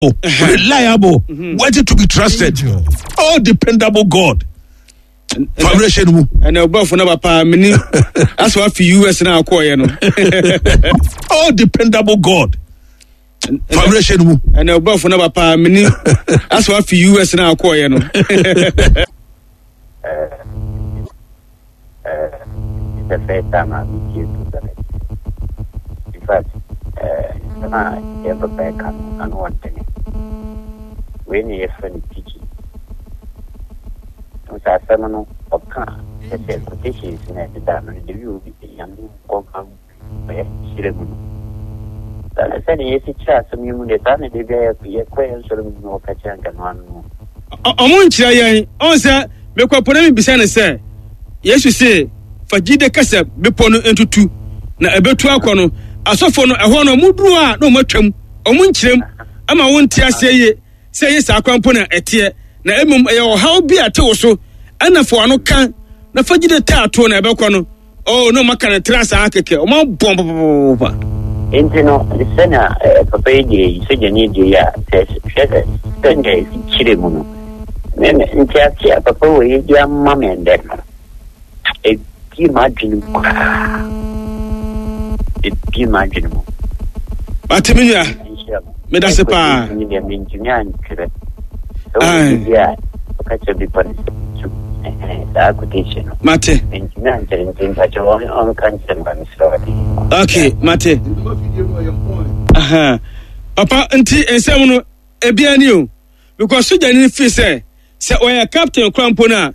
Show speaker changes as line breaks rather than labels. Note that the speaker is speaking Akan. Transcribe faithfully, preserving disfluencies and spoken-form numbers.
Reliable, worthy to be trusted, all dependable God. Foundation mu.
Ɛnna ɔbɔfo no papa mini asɔ afi U S na akɔɔyɛ no.
All dependable God. Foundation mu.
Ɛnna ɔbɔfo no papa mini asɔ afi U S na akɔɔyɛ no.
Uh, it's the first time I'm meeting you. In fact, nsɛm a yɛn papa ɛka no ano ɔdene. Wei ne yɛfrɛ no teaching. Sɛ asɛm no ɔka a, kyɛ sɛ quotations na ɛdeda no de wi obi Nyame nkɔka ɔyɛ hyerɛ mu no. Saa na sɛdeɛ yɛsi kyerɛ asɛm yi mu deɛ, saa na de bia yɛkɔ yɛn nsɔre mu no, wɔka kyerɛ nka no ano no.
Ɔmo nkyerɛ yɛn ɔn sɛ mekɔ po na mebisa no sɛ Yesu se fa gyide kasa bepɔ no ntutu na ɛbɛtu akɔ no, asɔfo no ɛhɔ no ɔmo duru a na ɔmo atwam, ɔmo nkyerɛm ama wonte aseɛ yie sɛ ɛyɛ saa kwan mpo na ɛteɛ, na mmom ɛyɛ ɔhaw bi a ɛte wo so ɛna fa w'ano ka na fa gyide taa toɔ na ɛbɛkɔ no. Oh, na ɔmo aka no tra saa kɛkɛ, ɔmo abɔn papapapa.
Nti no, sɛnea eh, papa yi deɛ yi, sogyani deɛ yi a, sɛ hwɛ sɛ sɛnea ɛsi kyerɛ mu no, me me ntease a papa wɔ yi de ama me ndɛ no, ebie m'adwene mu koraa, ebie m'adwene mu.
Mate, me nua.
Nhyira mo.
Meda se paa.
Ɛkɔ deɛ mentumi antwerɛ sɛ
Aye.
wɔ bi a ɔka kyerɛ bepɔ no sɛ tu, ɛhɛn, saa quotation no
mate.
Mentumi antwerɛ, nti mpakyɛ ɔn- ɔnka nkyerɛ me ba, mesrɛ wɔde.
Okay, mate. Aha. Papa, nti nsɛm no ebia ni o, because sogyani no firi sɛ sɛ ɔyɛ captain kora mpo no a